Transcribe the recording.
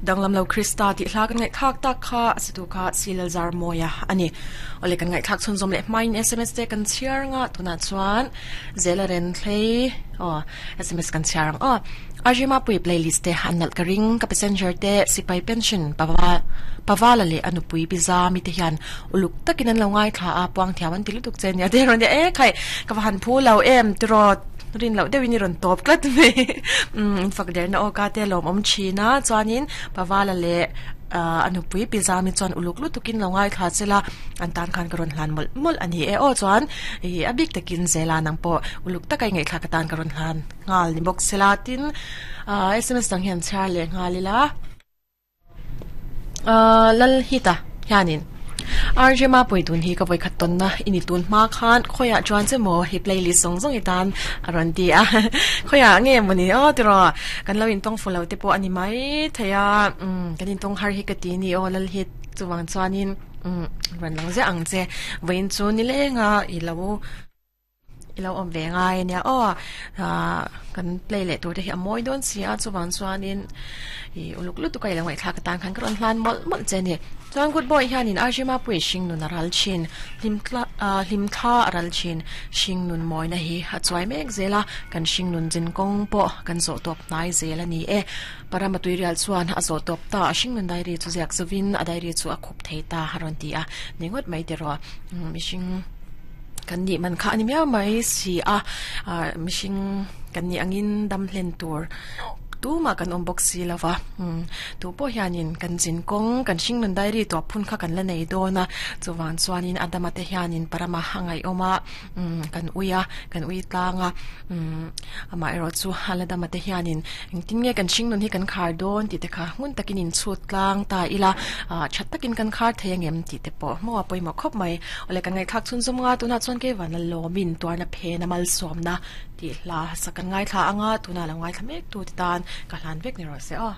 Danglam lo Krista tih hla kan ngaihthlak tak kha a situ kha Silal Zarmawia a ni. Awle kan ngaihthlak chhunzawm leh hmain sms te kan chhiar anga tunah chuan Zela Renthlei aw sms kan chhiar ang aw. Arjima pui playlist te an nalh ka ring ka passenger te sipai pension Paval Pavala leh a nupui Biza mi te hian uluk takin an lo ngaithla a puang thiam an ti lutuk che nia te rawn tia e khai ka va han phu lo em tiraw rin loh deuhin i rawn tawp tlat mai umm in fak derna aw ka te lawmawm thin a chuanin Pavala leh ah a nupui Biza mi chuan uluk lutukin lo ngaithla che la an tan khan ka rawn hlan mawlh mawlh a ni e aw chuan ih a bik takin Zela nang pawh uluk taka i ngaihthlak atan ka rawn hlan nghal ni bawk sela tin ah sms dang hian chhiar leh nghal ila ah Lalhita hianin RJ Mapui tun hi ka vawikhat tawnna i ni tun hma khan khawiah chuan che maw hi playlist zawng zawng i tan a rawn ti a khawiah nge maw ni aw tiraw kan lo intawng fu lo te pawh a ni mai thei a umm kan intawng har hi ka ti ni aw Lalhit chuvang chuanin umm rawn lang ziah ang che vawiin chu nilenga i lo I lo awm ve ngai ania aw ah kan play leh tur te hi a mawi dawn si a chuvang chuanin ih uluk lutuk a i lo ngaihthlak atan khan ka rawn hlan mawlh mawlh che a ni. Chuan good boy hianin Arjima pui hring nun a ral thin hlim thla ah hlim thla a ral thin hring nun mawina hi a chuai mek zel a kan hring nun zin kawng pawh kan zawh tawp hnai zel a ni e. Parama tuirial chuan a zawh tawp ta a hring nun diary chu ziak zovin a diary chu a khup thei ta a rawn ti a ni ngawt mai tiraw mihring Kan nih man kha a ni miau mai si a, ah mihring kan nih angin dam hlen tur tumah kan awm bawk si lo va, umm tu pawh hianin kan zin kawng kan hringnun diary tuah phun kha kan la nei dawn a, chuvang chuanin Adama te hianin Parama a ngaihawm a, umm kan ui a, kan ui tlang a, umm amaherawh chu Aladama te hianin engtin nge kan hringnun hi kan khar dawn tih te kha ngun takin inchhut tlang ta ila, ah tha takin kan khar thei angem tih te pawh hmaw a pawimawh khawp mai. Awle kan ngaihthlak chhun zawm nga tunah chuan kei vana lawmin tuarna phen a malsawmna tih hla sak kan ngaithla anga tunah lo ngaithla mek tu te tan ka hlan vek ni rawh se aw.